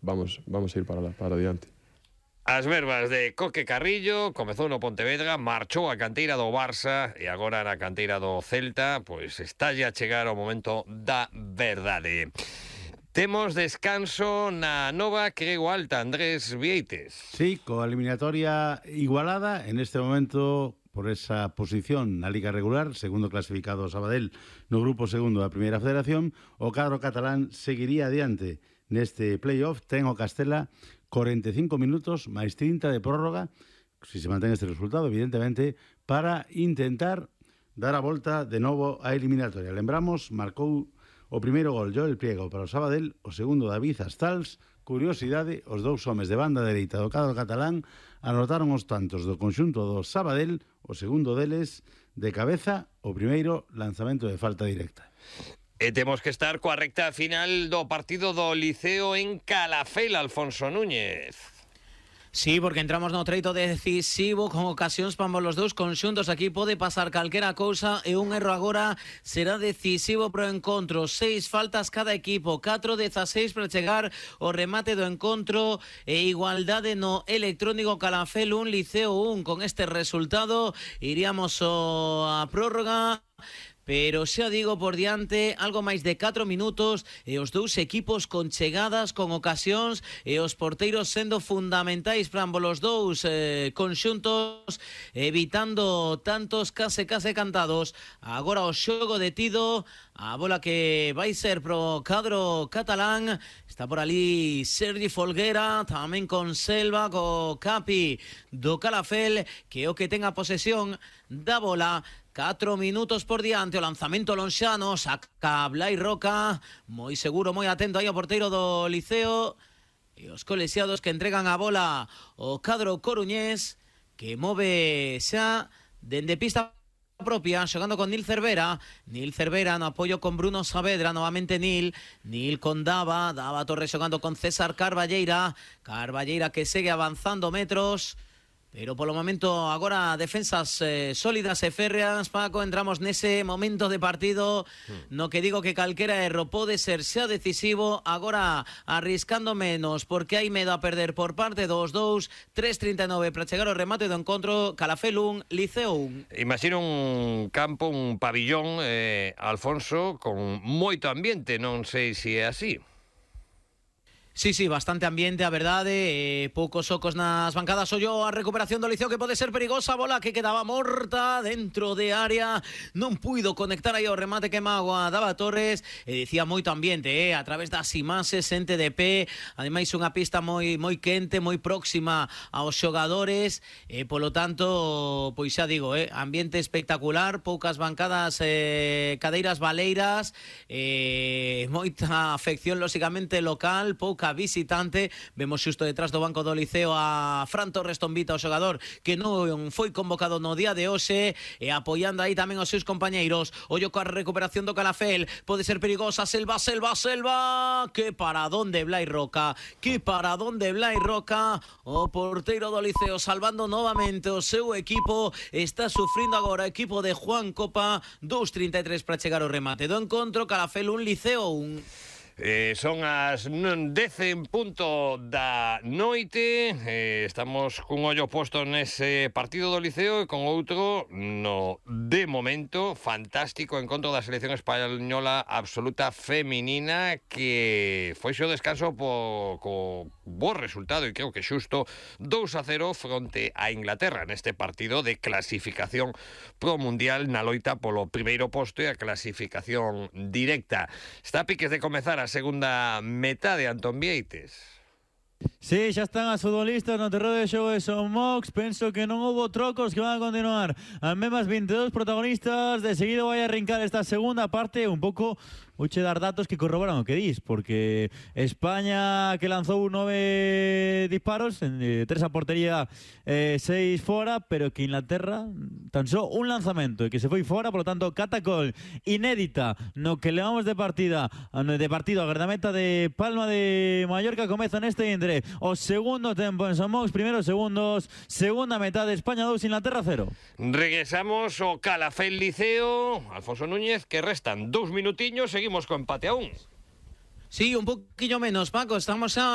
vamos a ir para adiante. As verbas de Coque Carrillo, comezou no Pontevedra, marchou a canteira do Barça e agora na canteira do Celta, pois está a chegar o momento da verdade. Temos descanso na nova Creu Alta, Andrés Vieites. Sí, coa eliminatoria igualada en este momento por esa posición na Liga Regular, segundo clasificado Sabadell no grupo segundo da Primeira Federación, o cadro catalán seguiría adiante neste playoff. Ten o Castela 45 minutos máis 30 de prórroga, si se mantén este resultado, evidentemente, para intentar dar a volta de novo a eliminatoria. Lembramos, marcou o primeiro gol Joel Priego para o Sabadell, o segundo David Astals. Curiosidade, os dous homes de banda dereita do cadro catalán anotaron os tantos do conxunto do Sabadell, o segundo deles de cabeza, o primeiro lanzamento de falta directa. E temos que estar coa recta final do partido do Liceo en Calafell, Alfonso Núñez. Sí, porque entramos no treito decisivo con ocasións para ambos os dous conxuntos. Aquí pode pasar calquera cousa e un erro agora será decisivo pro encontro. 6 faltas cada equipo, 4-16 para chegar o remate do encontro e igualdade no electrónico. Calafell 1, Liceo 1. Con este resultado iríamos a prórroga. Pero xa digo, por diante, algo máis de 4 minutos e os dous equipos con chegadas, con ocasións e os porteiros sendo fundamentais para ambos os dous conxuntos, evitando tantos case cantados. Agora o xogo detido, a bola que vai ser pro cadro catalán. Está por ali Sergi Folguera, tamén con Selva, co Capi do Calafell, que é o que ten a posesión da bola. 4 minutos por diante, o lanzamento lonxano, saca Blai Roca, moi seguro, moi atento aí ao porteiro do Liceo, e os colexiados que entregan a bola o cadro coruñés, que move xa dende pista propia, xogando con Nil Cervera no apoio con Bruno Saavedra, novamente Nil con Dava Torres xogando con César Carballeira que segue avanzando metros. Pero polo momento agora defensas sólidas e férreas, Paco. Entramos nese momento de partido no que digo que calquera erro pode ser xa decisivo. Agora arriscando menos porque hai medo a perder por parte dos dous. 3:39 para chegar ao remate do encontro. Calafell 1, Liceo 1. Imagino un campo, un pabillón, Alfonso, con moito ambiente, non sei se é así. Sí, bastante ambiente, a verdade, poucos ocos nas bancadas. Ollo a recuperación do Liceo que pode ser perigosa, bola que quedaba morta dentro de área, non puido conectar aí o remate que magua Dava Torres, e dicía moito ambiente, a través das imaxes en TDP, ademais unha pista moi quente, moi próxima aos xogadores, e polo tanto, pois xa digo, ambiente espectacular, poucas bancadas, cadeiras baleiras, moita afección lóxicamente local, pouca visitante. Vemos xusto detrás do banco do Liceo a Fran Torres Tombita, o xogador que non foi convocado no día de hoxe, e apoiando aí tamén os seus compañeiros. Ollo coa recuperación do Calafell, pode ser perigosa. Selva, que paradón de Blai Roca, o porteiro do Liceo salvando novamente o seu equipo. Está sufrindo agora o equipo de Juan Copa. 2:33 para chegar ao remate do encontro. Calafell 1, Liceo 1. Son as 10 en punto da noite. Estamos cun ollo posto nese partido do Liceo e con outro no, de momento, fantástico encontro da selección española absoluta feminina, que foi o descanso co bo resultado, e creo que xusto 2-0 fronte a Inglaterra neste partido de clasificación pro Mundial na loita polo primeiro posto e a clasificación directa. Está a piques de comezar a segunda metade, Antón Vieites. Sí, xa están as futbolistas no terreo de xogo de Son Mox. Penso que non houbo trocos, que van a continuar as mesmas 22 protagonistas. De seguido vai a arrincar esta segunda parte. Un pouco vouche dar datos que corroboran o que dis, porque España, que lanzou 9 disparos, 3 a portería, 6 fora, pero que Inglaterra tan só un lanzamento e que se foi fora. Por lo tanto, catacol inédita no que levamos de partido a guardameta de Palma de Mallorca. Comeza neste entre o segundo tempo en Son Mox, primeiros segundos, segunda metade, España 2, Inglaterra 0. Regresamos ao Calafell Liceo, Alfonso Núñez, que restan 2 minutiños, seguimos co empate a 1. Sí, un poquillo menos, Paco. Estamos a